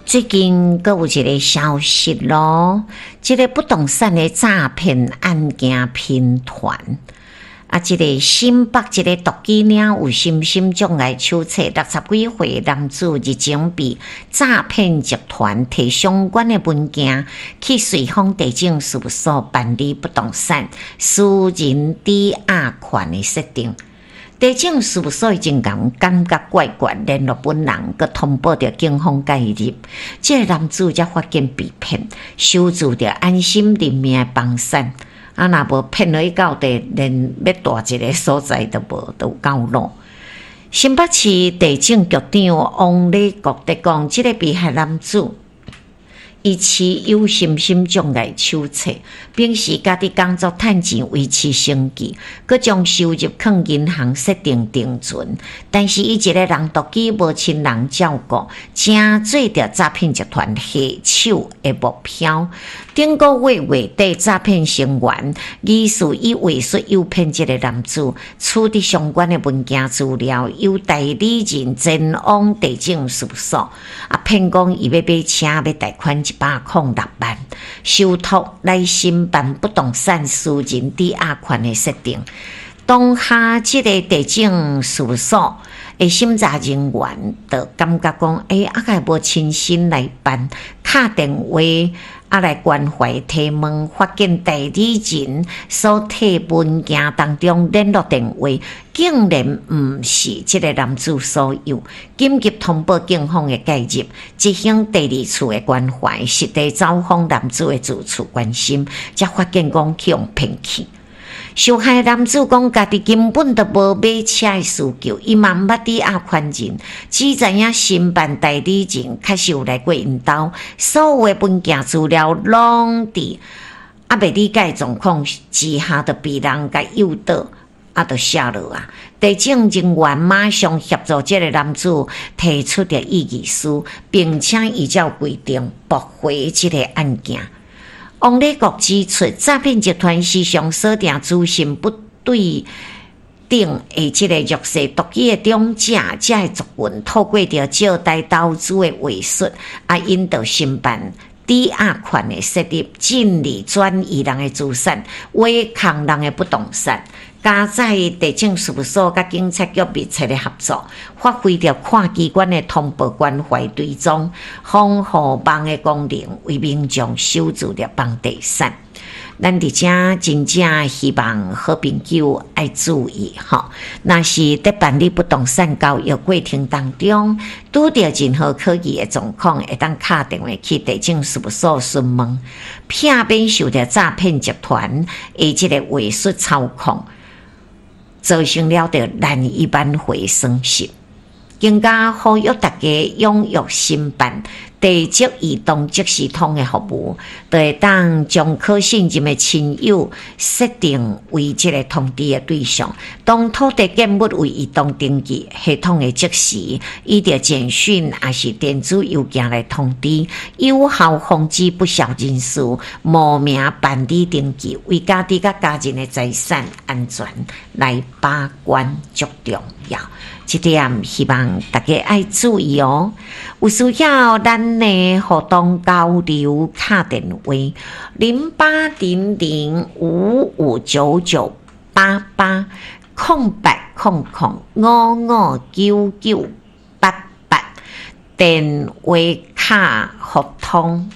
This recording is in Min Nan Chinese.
最近閣有一个消息囉，這个不動產的詐騙案件頻傳。啊，這个新北一个獨居領有身心障礙手冊60幾歲男子日前被詐騙集團提相關的文件去瑞豐地政事務所辦理不動產私人抵押權的設定。地政事務所已經共感覺怪怪，聯絡本人，閣通報著警方介入。這个男子才發現被騙，收住著安心人命的房產。啊，若無騙落去到底，連欲蹛一个所在都無，都有夠老。新北市地政局長王禮國佇講，這个被害男子，伊持有身心障礙手冊，平時家己工作趁錢維持生計，閣將收入囥銀行設定定存。但是伊一个人獨居，無親人照顧，成做著詐騙集團下手的目標。頂個月月底，詐騙成員疑似以話術誘騙這个男子，取得相關的文件資料，由代理人前往地政事務所，啊，騙講伊欲買車，欲貸款106萬，受託來申辦不動產私人抵押權的設定。當下，這个地政事務所的審查人員就感覺講，欸，啊，敢無親身來辦，敲電話啊來關懷提問，發現代理人所提文件當中聯絡電話，竟然毋是這个男子所有，緊急通報警方的介入，執行第二次的關懷，實地走訪男子的住處關心，才發現講去予騙去。受害男子講，家己根本就無買車的需求，伊嘛毋捌抵押權人，只知影申辦代理人確實有來過𪜶兜，所有的文件資料攏佇猶未理解狀況之下，就被人共誘導，啊，就寫落啊。地政人員馬上協助這个男子提出著異議書，並且依照規定駁回這个案件。王禮國指出，詐騙集團時常鎖定資訊不對等的這个弱勢獨居的長者，這个族群透過著借貸投資的話術，啊，引導申辦抵押權的設立，進而轉移人的資產，挖空人的不動產。加載地政事務所佮警察局密切的合作，發揮著跨機關的通報關懷追蹤、防護網的功能，為民眾守住著房地產。咱佇遮真正希望好朋友愛注意吼，若是佇辦理不動產交易過程當中，拄著任何可疑的狀況，會當敲電話去地政事務所詢問，避免受著詐騙集團的這个話術操控，造成了著難以挽回損失。更加呼籲大家踴躍申辦地籍移動即時通的服務，就會當將可信任的親友設定為這个通知的對象。當土地建物為移動登記，系統會即時以著簡訊抑是電子郵件來通知，有效防止不肖人士冒名辦理登記，為家己佮家人的財產安全來把關，足重要。這點希望大家愛注意哦。有需要咱的互動交流，敲電話0800559988 0800559988，電話敲互通。